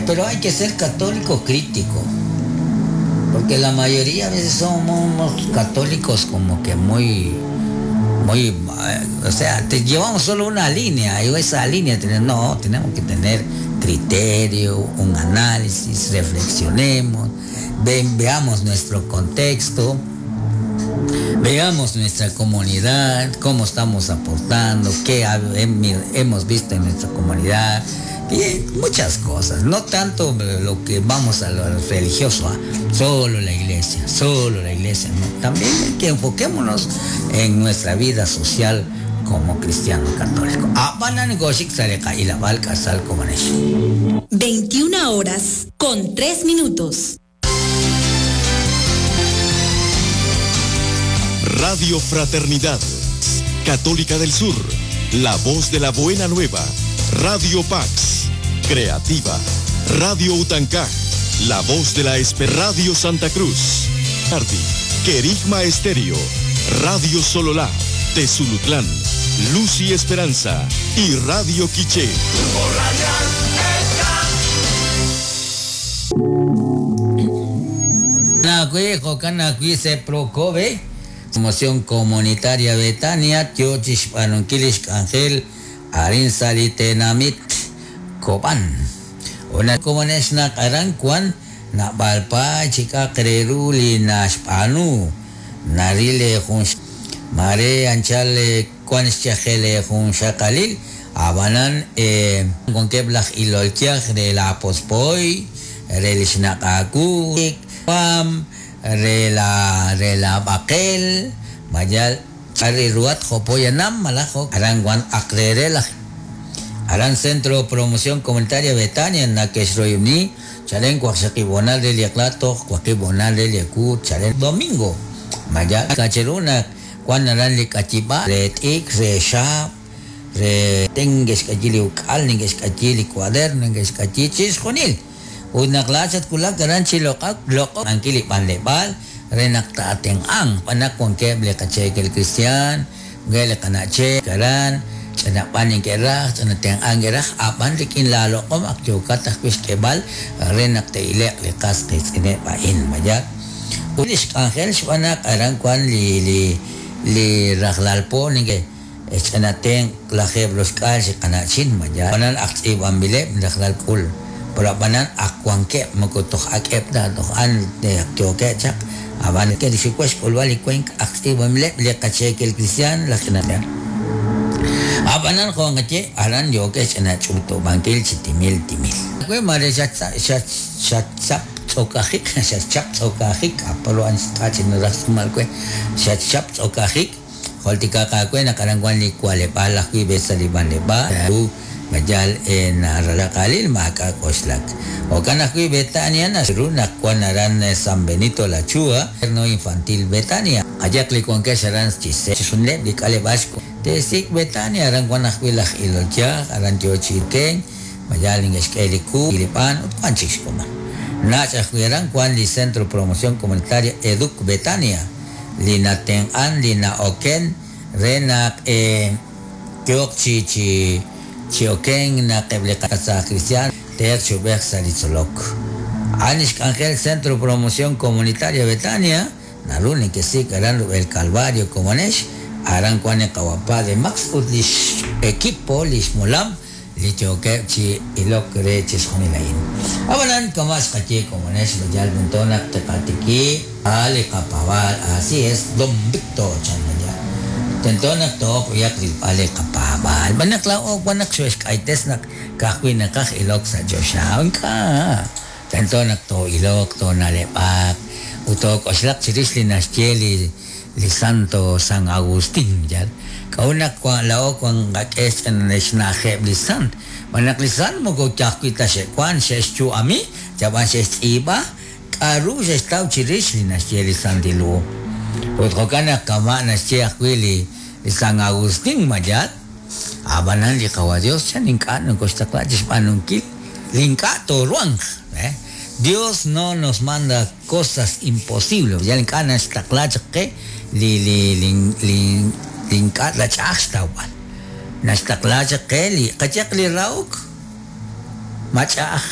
Pero hay que ser católico crítico. Porque la mayoría a veces somos católicos como que muy, muy, o sea, te llevamos solo una línea y esa línea, no, tenemos que tener criterio, un análisis, reflexionemos, veamos nuestro contexto, veamos nuestra comunidad, cómo estamos aportando, qué hemos visto en nuestra comunidad, y muchas cosas, no tanto lo que vamos a lo religioso, ¿ah? Solo la iglesia, solo la iglesia, no. También hay que enfoquémonos en nuestra vida social como cristiano católico. 21 horas con 3 minutos. Radio Fraternidad, Católica del Sur, la voz de la buena nueva. Radio Pax, Creativa, Radio Utancaj, La Voz de la Espe, Radio Santa Cruz, Ardi, Querigma Estéreo, Radio Sololá, Tezulutlán, Luz y Esperanza y Radio Quiché. Promoción Comunitaria Betania, Tiochish Panunkilish Ángel, Arin Salitenamit Koban. Una komunes na karan kwan na balpa chika kreruli na spanu narile jun mare anchale kwan xchajele jun xakalil abanan con keblaj ilolkiaj de la pospoy relishnakaku pam rela rela bakel mayal ari ruat jopoyanam malajo aran guan akrerela Aran Centro Promoción Comunitaria Betania Nakeshroyuni Chalen Cuaxaquibonal del Yaclato Cuaquibonal del Yacu Chalen Domingo Maya Cacheruna Juan Aran Licachiba Re Tik Re Shap Re Tengues Cachili Ucal Ningues Cachili Cuaderno Ningues Cachichis Junil Unaklachat kulak aran chilokak loko angkili panlebal renakta ateng ang panak kong keble kachekel Cristian gele kanache karan chanapan yung kerah chanateng ang kerah apan rikin lalo kom akyokat akwis kebal renakta ilek likas kitsine pain maya ulish angel shwanak aran kwan li li li raglalpo ninge chanateng klajeb los kal si kanachin maya panan aktib ambile raglal kul pero banan akwanke makutok akep da toh an de akyoke chak aban ke disikwes kulwali kwenk aktib ambile le kachekel cristian la kinata abanan ko ngache aran yoke chana chuto bangkil chitimil timil kwe mare chat chat chat chap tsokajik chat chap tsokajik apolo an stachin rasmal kwe chat chap tsokajik holtika ka kwe nakarangwan li kwale pala kwi besaliban le ba Majal en Ralakalil Maka Koslak. Okanakui Betania Nasruna Kuanaran San Benito La Chua, no infantil Betania. Ayakli con que serán chise, sunle bikale vasco. Tesik Betania aran Guanajuilaj Ilolcha, aran Yochiken, Mayalin Esqueliku, Ilipan, Utpanchixcoma. Nachajueran Juan Li Centro Promoción Comunitaria Educ Betania, Lina Ten An, Lina Oken, Renak Kyokchi Chi. Chioken na keblekasa Cristian Ter Chubek Salitzolok. Anish Ángel Centro Promoción Comunitaria Betania, Naruni que sí, Aran el Calvario Comonesh, Aran Kuane Kawapa de Max Utlish equipo Lish Mulam, Lichoke Chi Ilok Rechis Junilain. Abanan Kamas Kachi Comonesh, Luyal Buntona Tepatiki, Ali Kapabal, así es, Don Víctor Chanaya. Tentonak to kuyak ale kapabal. Banak la o banak shuesh kaites nak kakwin nakak ilok sa Diyos ka. Tentonak to ilok to nalepak. Utok oslak chiris li nascheli li Santo San Agustin yan. Kaunak kwa lao kwang kakes en nesnajeb li Sant. Banak li Sant mo ko chakwita she kwan she chu ami. Chaban she iba. Karu she stau chiris li nascheli Santilu. Utkokana kama naschiak wili San Agustín mayat abanan li kawa Dios chan inka no costa claches panunkil linka toruang Dios no nos manda cosas imposibles ya linka nasta que li li li linka la chasta wal nasta que li kachak li rauk machaj